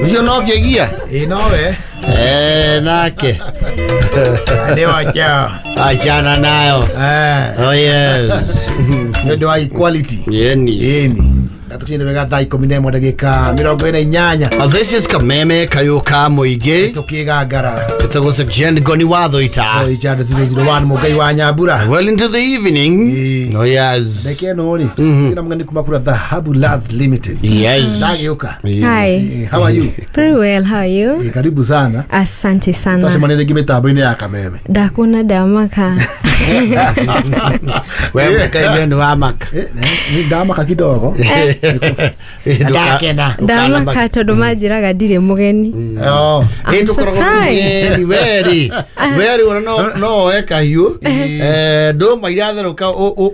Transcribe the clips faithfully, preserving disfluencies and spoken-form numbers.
Ucio no kĩgia. Ĩ nowe. Eh, nake. Nĩ wacha. Achana nayo. Eh. Oh yes. Nĩ ũndũ wa equality. Yeni. Ĩni. Tũkinyire wega thaa ikũmi na ĩmwe ndagĩka mĩrongo ĩna inyanya. Uh, This is Kameme Kayuka Muige. Tũkĩgangara. Ĩtagwo Jen Goni Watho ita. Richard zero zero one Mũngai wa Nyambura. Well into the evening. Ĩĩ. Oh yes. Ndeke ĩno rĩ, twĩna mũgeni kuma kũrĩa Dhahabu Lands Limited. Yes. Ndagĩũka. Hi. Eh, how are you? Very well, how are you? Eh, karibu sana. Asante sana. Twacemania rĩngĩ mĩtambo-inĩ ya Kameme. Ndakuona ndamaka. We mũkaithio nĩ wa maka. Eh, nĩ ndamaka kidogo. Ndakena. Ndamaka tondũ manjĩraga ndirĩ mũgeni. Oh. Ĩ I'm tũkoragwo surprised. mũgeni weri weri ona no no oe kahiũ, eh, ndũma iratherũka,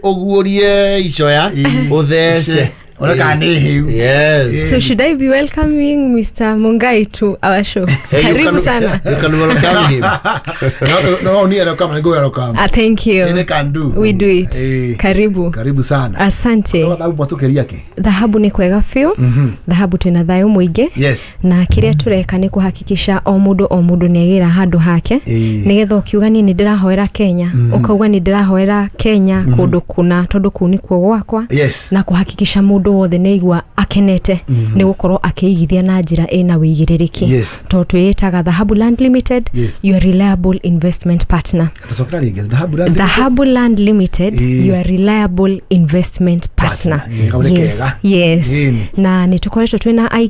ũguũrie icoya ũthece. Ona kana nĩ hĩu. Yes. So should I be welcoming Mister Mungai to our show? Hey, you Karibu can- sana. You can welcome him. No, no, ni welcome, ni go welcome. Ah, thank you. Any can do. We do it. Eh. Karibu. Karibu sana. Asante. No thabu mwatũkĩria kĩ? Dhahabu nĩ kwega biũ. Dhahabu twĩna thayũ mũingĩ. Yes. Na kĩrĩa tũreka nĩ kũhakikisha o mũndũ o mũndũ nĩ agĩra handũ hake, Ĩĩ. nĩgetha ũkiuga niĩ nĩ ndĩrahoera Kenya, ũkauga nĩ ndĩrahoera Kenya kũndũ kũna, tondũ kũu nĩkuo gwakwa, Yes. na kũhakikisha mũndũ wothe nĩ aigua akenete nĩ gũkorwo akĩigithia na njĩra ĩna wĩigĩrĩrĩki, Yes. tondũ twĩĩtaga Dhahabu Land Limited, Yes. your reliable investment partner. Tũcokera rĩngĩ Dhahabu Land. Dhahabu Land Limited, Ĩĩ. your reliable investment partner. Partner. Ĩĩ, kau nĩ Yes, kega. yes. Ĩni. Na nĩ tũkoretwo twĩna aigithia.